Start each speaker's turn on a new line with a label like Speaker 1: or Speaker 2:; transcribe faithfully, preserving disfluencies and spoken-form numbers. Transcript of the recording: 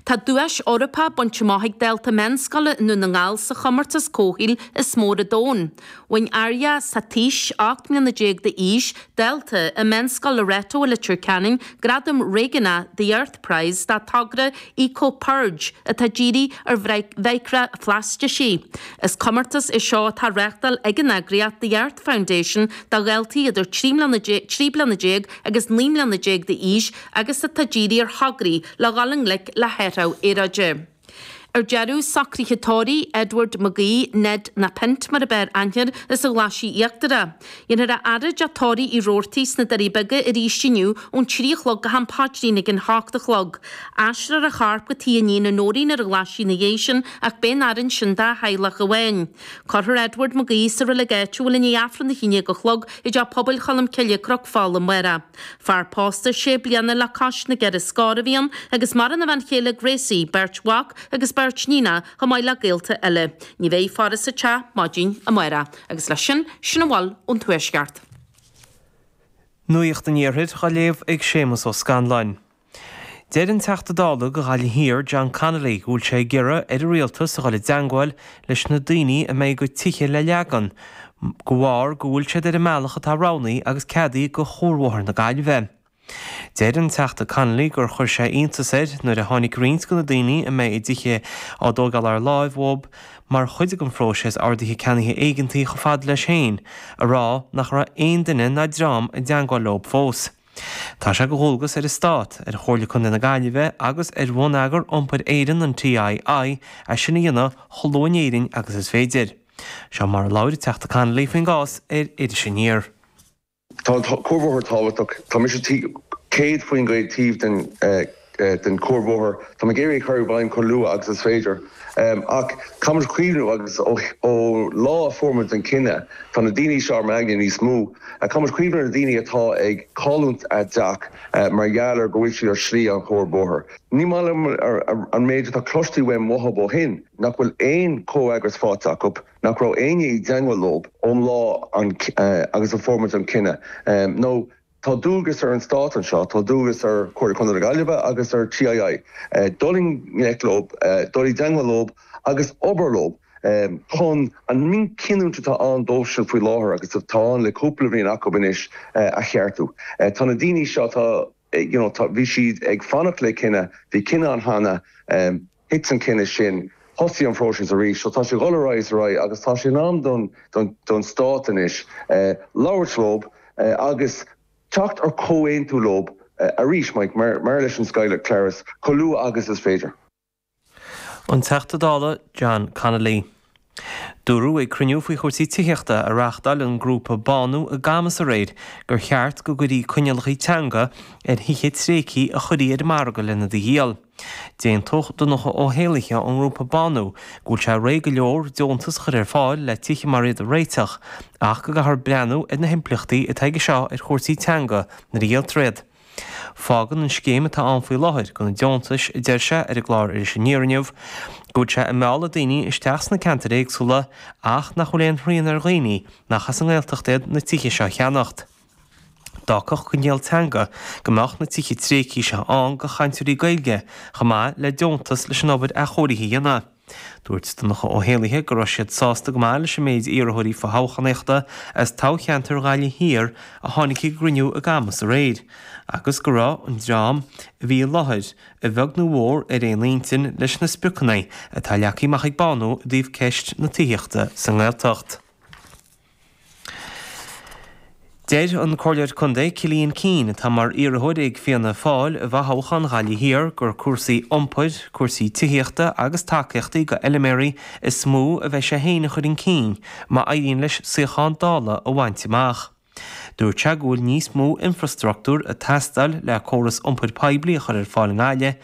Speaker 1: Tá duais Eorpach bainte amach ag dalta meánscoile i nDún na nGall sa chomórtas comhshaoil is mó ar domhan. Bhain Arya Satish ocht mbliana déag d'aois dalta i Meánscoil Loreto i Leitir Ceanainn gradam réigiúnach The Earth Prize dá togra Eco Purge atá dírithe ar mhicreaphlaisteacha. Is comórtas é seo atá á reáchtáil ag an eagraíocht The Earth Foundation do dhaltaí idir trí bliana déag agus naoi mbliana déag d'aois agus atá dírithe ar thograí le dhul i ngleic le hathrú aeráide. Ar deireadh socruithe tórraimh Edward McGee Ned na Pint mar ab fhearr aithne air as an Ghlaisigh Íochtarach. Dhéanfar a fhaire i dteach tórraimh Uí Robhartaigh sna Doirí Beaga arís inniu ón trí a chlog go ham paidrín ag an hocht a chlog. Aistreofar a chorp go tigh a iníne Nóirín ar an Ghlaisigh ina dhiaidh sin ach beidh an fhaire ansin dá theaghlach amháin. Cuirfear Edward McGee sa reilig áitiúil i ndiaidh Aifreann a haon déag a chlog i dteach pobail Cholm Cille Cnoc Fola amárach. Fear pósta sé bliana le cois na gceithre scór a bhí ann agus maireann a bhean chéile Gracie, beirt mhac agus beirt níonacha chomh maith le gaolta eile. Ní bheidh faire sa teach maidin amárach, agus leis sin sin a bhfuil ón Tuaisceart.
Speaker 2: Nuacht an Iarthair á léamh ag Séamus Ó Scanláin. Deir an Teachta Dála do Ghaillimh Thiar John Connolly go bhfuil sé ag iarraidh ar an rialtas a dhul i dteagmháil leis na daoine a mbeidh a gcuid tithe le leagan, de bharr go bhfuil siad ar an mbealach atá roghnaithe agus ceadaithe do Chuarbhóthar na Gaillimhe. Deir an Teachta Connolly gur chuir sé iontas air nuair a tháinig roinnt de na daoine a mbeidh a dtithe á dtógáil ar láimh uathu mar chuid den phróiseas ordaithe ceannaithe éigeantaí chomh fada leis féin, a rá nach raibh aon duine ná dream i dteagmháil leo fós. Tá sé de dhualgas ar an Stát, ar Chomhairle Contae na Gaillimhe agus ar Bhonneagar Iompair Éireann an TII é sin a dhéanamh chomh luath in Éirinn agus is féidir. Seo mar a labhair an Teachta Connolly faoin gcás ar Iris Aniar.
Speaker 3: Tá cuarbhóthar tábhachtach tá mise céad faoin gcéad taobh den den cuarbhóthar Tá mé ag iarraidh chur i bhfeidhm chomh luath agus is féidir. Ach caithfimid cuimhneamh agus ó lá a fuair muid an cinneadh tá na daoine seo ar m'aigne níos mó. Caithfimid cuimhneamh ar na daoine atá ag cailliúint a dteach mar gheall ar go bhfuil siad ar shlí an chuarbhóthair. Ní maith liom an méid atá cloiste uaim uathu ó shin nach bhfuil aon chomhfhreagras faighte acu, nach raibh éinne i dteagmháil leo ón lá agus a fuair muid an cinneadh. Nó tá dualgas ar an stát anseo, tá dualgas ar Chomhairle Contae na Gaillimhe agus ar TII. Dul i ngleic leo, dul i dteagmháil leo agus obair leo chun an mhíchinniúint atá ann dóibhsean faoi láthair agus atá ann le cúpla bliain acu anois a cheartú. Tá na daoine seo tá you know, tá bhí siad ag fanacht le cinneadh, bhí cinneadh ann cheana thit an cinneadh sin, thosaigh an próiseas arís, so tá sé dul ar aghaidh ar aghaidh agus tá sé in am don don don stát anois labhairt leo agus teacht ar comhaontú leo arís Mike mar mar leis an Skyler Claris chomh luath agus is féidir.
Speaker 2: An Teachta Dála John Connolly. Dúradh ag cruinniú faoi chúrsaí tithíochta a reáchtáil an grúpa Bánú i gCamas aréir gur cheart go gcuirfí coinníollacha teanga ar thithe tréigthe a chuirfí ar an margadh lena ndíol. D'aontódh Donncha Ó hÉalaithe ón ngrúpa Bánú go bhfuil sé réidh go leor deontas a chur ar fáil le tithe mar iad a réiteach, ach go gcaithfear breathnú ar na himpleachtaí atá aige seo ar chúrsaí teanga nuair a dhíoltar iad. Fágann an scéim atá ann faoi láthair do na deontais a deir sé ar an gclár Iris Aniar inniu, go bhfuil sé ag mealladh daoine isteach sna ceantair éagsúla ach nach bhfuil aon srian ar dhaoine nach as an nGaeltacht iad na tithe seo a cheannacht. D'fhágfadh coinníoll teanga go mbeadh na tithe tréigthe seo ann do chainteoirí Gaeilge chomh maith le deontas leis an obair athchóirithe a dhéanamh. Dúirt Donncha Ó hÉalaithe go raibh siad sásta go maith leis an méid iarrthóirí fothoghchánaíochta as toghcheantar Ghaillimh Thiar a tháinig ag an gcruinniú i gCamas aréir, agus go raibh an dream a bhí i láthair, a bheag nó a mhór, ar aon intinn leis na spriocanna atá leagtha amach ag Bánú i dtaobh ceist na tithíochta sa nGaeltacht. Deir an Comhairleoir Contae Cillian Keane, atá mar iarrthóir ag Fianna Fáil i bhfothoghchán Ghaillimh Thiar, gur cúrsaí iompair, cúrsaí tithíochta agus tacaíochtaí do fheilméaraí is mó a bheidh sé féin a chur chun cinn má éiríonn leis suíochán Dála a bhaint amach. Dúirt sé go bhfuil níos mó infreastruchtúir ag teastáil le córas iompair poiblí a chur ar fáil i nGaillimh